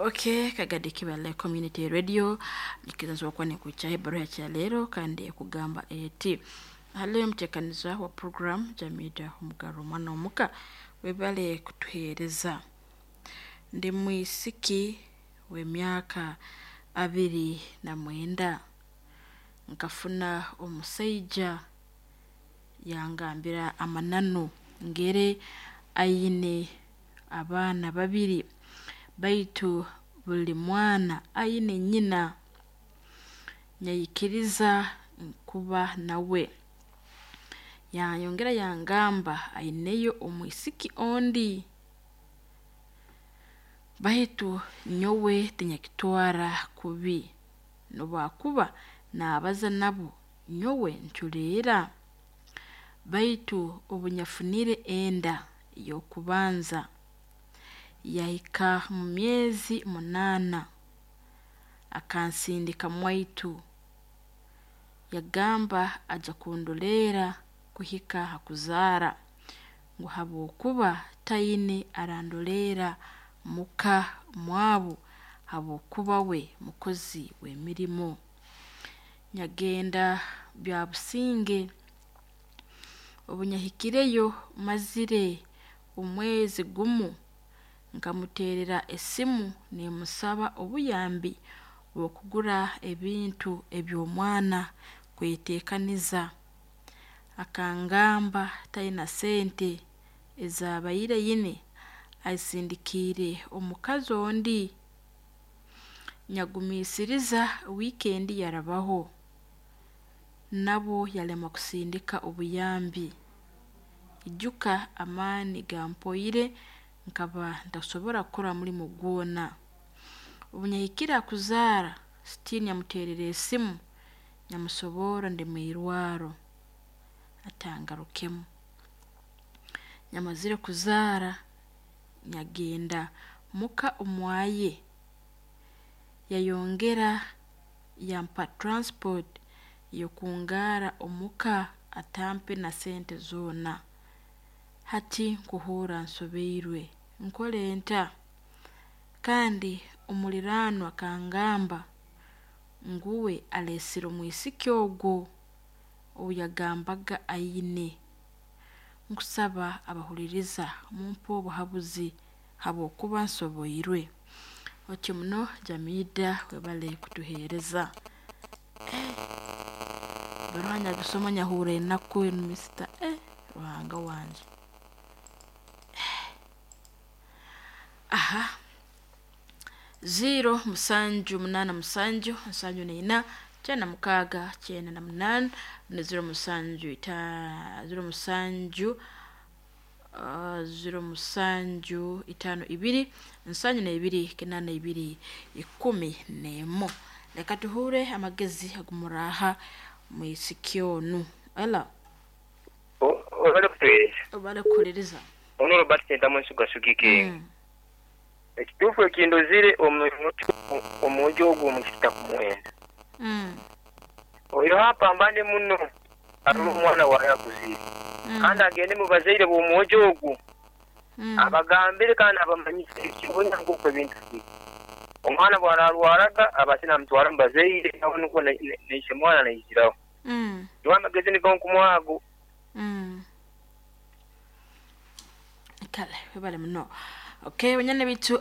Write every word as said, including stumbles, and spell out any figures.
Okay, Kagadi Kibale Community Radio nikizazo kwa nikucha ebbaruha ya leero kandi ekugamba eti haliyo omuteekaniza wa program Jamida Omugaro omwana omuka, webale kutuheereza. Ndi mwisiki w'emyaka abiri na mwenda, nkafuna omusaija yangambira amananu ngere aine abaana babiri, baitu buli mwana aine nyina. Nyayikiriza kuba nawe. Yayongera yangamba aineyo omwisiki ondi, baitu nyowe tinyakitwara kubi, nobu naabaza nabo nyowe nculeera. Baitu obu nyafunire enda ey'okubanza, yahika mu myezi munaana, akansindika mwaitu, yagamba aja kundoleera kuhika ha kuzaara, ngu habwokuba taine arandoleera muka mwabu habwokuba we mukozi w'emirimo. Nyagenda byabusinge, obu nyahikireyo mazire omwezi gumu, nkamuteerera esimu nimmusaba obuyambi bw'okugura ebintu eby'omwana kweteekaniza. Akangamba taina sente ezaabaire aine azisindikiire omukazi ondi. Nyagumiisiriza wiikendi yarabaho, nabwo yalema kusindika obuyambi. Ijuka amaani gampoire nkaba ntakusobora kukora mulimo gwona. Obu nyahikire ha kuzaara, still nyamuteerera esimu nyamusoborra ndi mwirwarro atangarukemu. Nyamazire kuzaara, nyagenda muka omwaye, yayongera yampa transport y'okungarra omuka atampe na sente zoona. Hati nkuhuurra nsobiirwe, nkole nta? Kandi omuliraanwa akangamba ngu uwe aleesire omwisiki ogu ou yagambaga aine. Nkusaba abahuliiriza mumpe obuhabuzi habwokuba nsoboirwe. Oti muno Jamida webale kutuheereza. Ebbaruha nyagisoma nyahurra enaku enu mister, Ruhanga wange. Aha, zero musanju munaana musanju nsanju naina kyenda na mukaaga kyenda na munaana na zero musanju ita zero musanju uh, zero musanju itaano ibiri nsanju n'ebiri kinaana ibiri ikumi n'emu. Leka tuhuure amagezi agumuraaha mwisiki onu. Ela Obale kutuheereza. Obale kuhuliiriza. Ono Robert Sentamu Nsuga Sugike. Mm. Ekituufu ekindozire omwojo ogwo omukita kumwenda. Mm. Oyo hapambane muno arole omwana waawe akuzire. Mm. Kandi agende mu bazaire b'omwojo ogwo Mm. abagambire kandi abamanyise ekibonya nk'oku ebintu biri. Omwana bw'ararwaraga abase namutwara mu bazaire nawe nukwo naise mwana naiziraho. Mm. Niwe amagezi nigo nkumuha ago. Mm. Kale webale muno. Okay, banyana bitu.